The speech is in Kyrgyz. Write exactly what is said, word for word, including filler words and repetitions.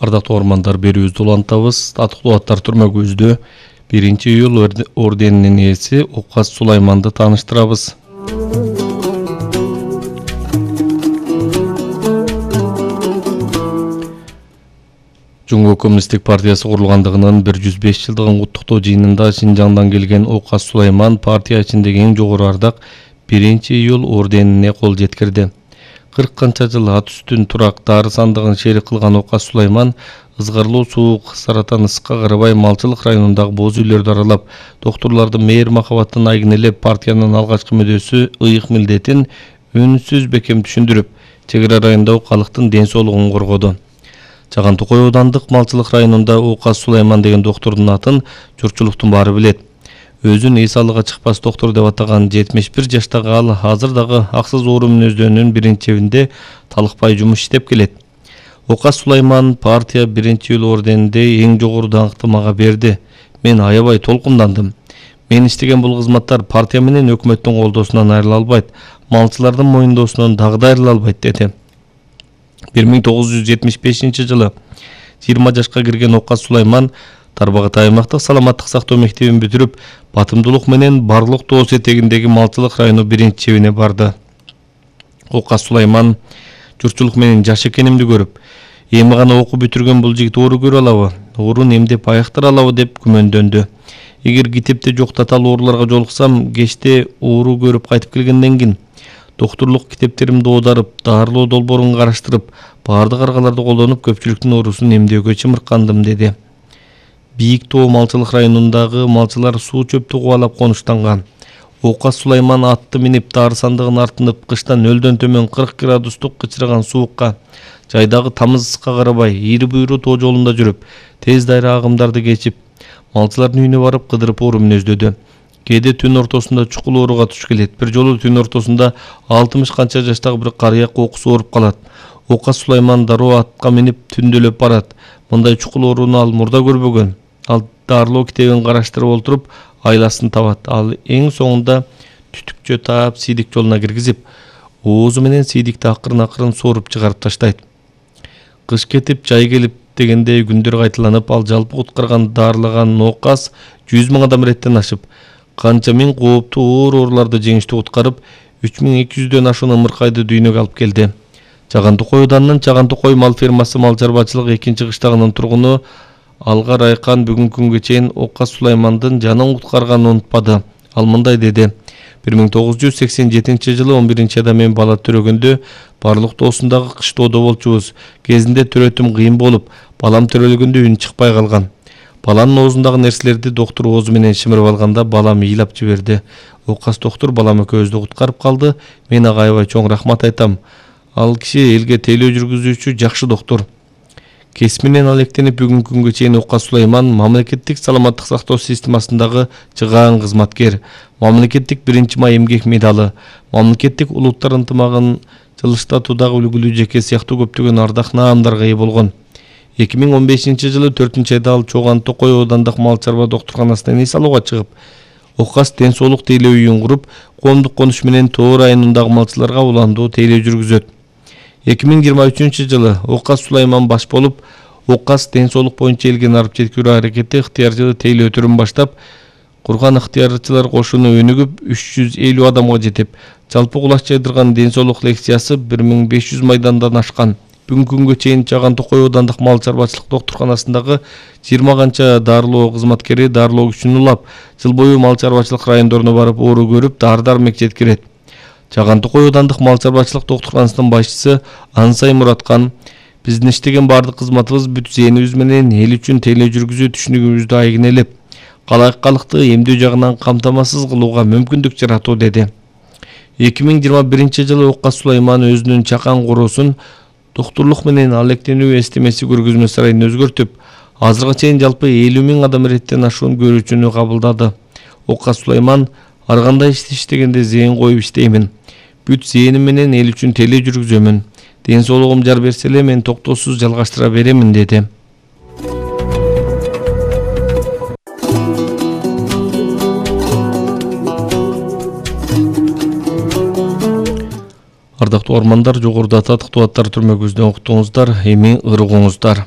Ардактуу ормандар, берүүбүздү улантабыз. Татыктуу аттар түрмөгүбүздө биринчи июль орденинин ээси Окас Сулайманды тааныштырабыз. Жумгу Коммунисттик партиясы курулгандыгынын бир жүз беш жылдыгын куттуктоо жыйынында Шинжаңдан келген Окас Сулайман партия ичиндеги эң жогору ардак биринчи июль орденине кол жеткирди. кырк канча жыл ат үстүн турак дары сандыгын шерик кылган Окас Сулайман ызгарлуу суук, саратан ысыкка карабай Малчылык районундагы боз үйлөрдү аралап, доктурлардын мээр махабатын айгинелеп, партиянын алгачкы мүдөөсү ыйык милдетин үнсүз бекем түшүндүрүп, чек ара райондогу калктын ден соолугун коргоду. Чаган Токой аудандык Малчылык районунда Окас Сулайман деген доктурдун атын журтчулуктун баары билет. Өзүн эс алыга чыкпас доктор деп атаган жетимиш бир жаштагы ал азыр дагы аксыз оору мүнөздөрүнүн биринчебинде талыкпай жумуш иштеп келет. Окас Сулайман партия биринчи июль орденинде эң жогору даңкты мага берди. Мен аябай толкундандым. Мен иштеген бул кызматтар партия менен өкмөттүн колдоосунан айрыла албайт, малчылардын моюндоосунан дагы да айрыла албайт деди. бир миң тогуз жүз жетимиш бешинчи жылы жыйырма жашка кирген Окас Сулайман Тарбагат аймактык саламаттык сактоо мектебин бүтүрүп, батымдуулук менен барлык тоос этегиндеги Малчылык району биринчибине барды. Окас Сулайман журтчулук менен жаш экенимди көрүп, эми гана окуу бүтүргөн бул жигит оору көрө алабы, оорун эмдеп аяктыра алабы деп күмөндөнтү. Эгер китепте жок татаал ооруларга жолуксам, кечте оору көрүп кайтып келгенден кийин доктурлук китептеримди оодарып, дарылоо долбоорун караштырып, баардык аргаларды колдонуп көпчүлүктүн оорусун эмдөөгө чымыркандым деди. Бийик Тоо Малчылык районундагы малчылар суу чөптү кубалап конуштанган. Окас Сулайман атты минип дары сандыгын артынып, кыштан нөлдөн төмөн кырк градустук кычыраган суукка, жайдагы тамыз ысыкка карабай, ийри буйру тоо жолунда жүрүп, тез дайра агымдарды кечип, малчылардын үйүнө барып кыдырып оору мүнөздөдү. Кээде түн ортосунда чукул ооруга туш келет. Бир жолу түн ортосунда алтымыш канча жаштагы бир карыя кокусу ооруп калат. Окас Сулайман дароо атка минип түндөлөп барат. Мындай чукул ооруну ал мурда көрбөгөн. Ал дарылоо китебин караштырып олтуруп, айласын табат. Ал эң соңунда түтүкчө таап сийдик жолуна киргизип, оозу менен сийдикти акырын-акырын сооруп чыгарып таштайт. Кыш кетип, жай келип дегенде күндөр кайталанып, ал жалпы куткарган дарылаган Окас жүз миң адам реттен ашып, канча миң кооптуу оор ооруларды жеңиштүү куткарып, үч миң эки жүздөн ашуун ымыркайды дүйнөгө алып келди. Чаган Токой ауданынын Чаган Токой мал фермасы мал чарбачылык экинчи кыштагынын тургуну Алга Райкан бүгүнкү күнгө чейин Окас Сулаймандын жанын куткарганын унутпады. Ал мындай деди: бир миң тогуз жүз сексен жетинчи жылы он биринчи айда мен бала төрөгөндө барлык тоосундагы кыштоодо болчубуз. Кезинде төрөтүм кыйын болуп, балам төрөлгөндө үн чыкпай калган. Баланын оозундагы нерселерди доктур оозу менен шимирип алганда балам ыйлап жиберди. Окас доктур балам экөөбүздү куткарып калды. Мен ага аябай чоң рахмат айтам. Ал киши элге тейлөө жүргүзүүчү жакшы доктур. Кесминен алектенип бүгүнкү күнгө чейин Окас Сулайман мамлекеттик саламаттык сактоо системасындагы чыгаан кызматкер, мамлекеттик биринчи май эмгек медалы, мамлекеттик улуттар ынтымагын жылыштатуудагы үлгүлүү жеке сыяктуу көптөгөн ардак наамдарга ээ болгон. эки миң он бешинчи жылы төртүнчү айда ал Чоган Токой аудандык мал чарба доктурканасынан эс алууга чыгып, Окас ден соолук тейлөө үйүн куруп, коомдук конуш менен Тоо районундагы малчыларга уландуу тейлөө жүргүзөт. эки миң жыйырма үчүнчү жылы Окас Сулайман баш болуп, Окас ден соолук боюнча элге нарып жеткирүү аракети ыктыярчылык тейлөө түрүн баштап, курган ыктыярчылар кошуну өнүгүп үч жүз элүү адамга жетип, жалпы кулач жайдырган ден соолук лекциясы бир миң беш жүз майдандан ашкан. Бүгүнкү күнгө чейин Чаган Токой аудандык мал чарбачылык доктурканасындагы жыйырма канча дарылоо кызматкери дарылоо күчүн улап, жыл бою мал чарбачылык райондоруна барып оору көрүп, дары-дармек жеткирет. Чаган Токой аудандык мал чарбачылык доктурканасынын башчысы Ансай Мураткан: биздин иштеген бардык кызматыбыз бүт зээнибиз менен эл үчүн тейлөө жүргүзүү түшүнүгүбүздү айгинелеп, калайык калыкты эмдөө жагынан камтамасыз кылууга мүмкүндүк жаратуу деди. эки миң жыйырма биринчи жылы Окас Сулайман өзүнүн чакан короосун доктурлук менен алектенүү эстемеси көргөзмө сарайын өзгөртүп, азыркыга чейин жалпы элүү миң адам реттен ашуун көрүүчүнү кабылдады. Окас Сулайман: ар кандай ишти иштегенде зээн коюп иштеймин. Бүт зээним менен эл үчүн тейлөө жүргүзөмүн. Ден соолугум жар берсе эле мен токтоосуз жалгаштыра беремин деди. Ардактуу ормандар, жогоруда татыктуу аттар түрмөгүбүздөн уктуңуздар, эми ырыгыңыздар.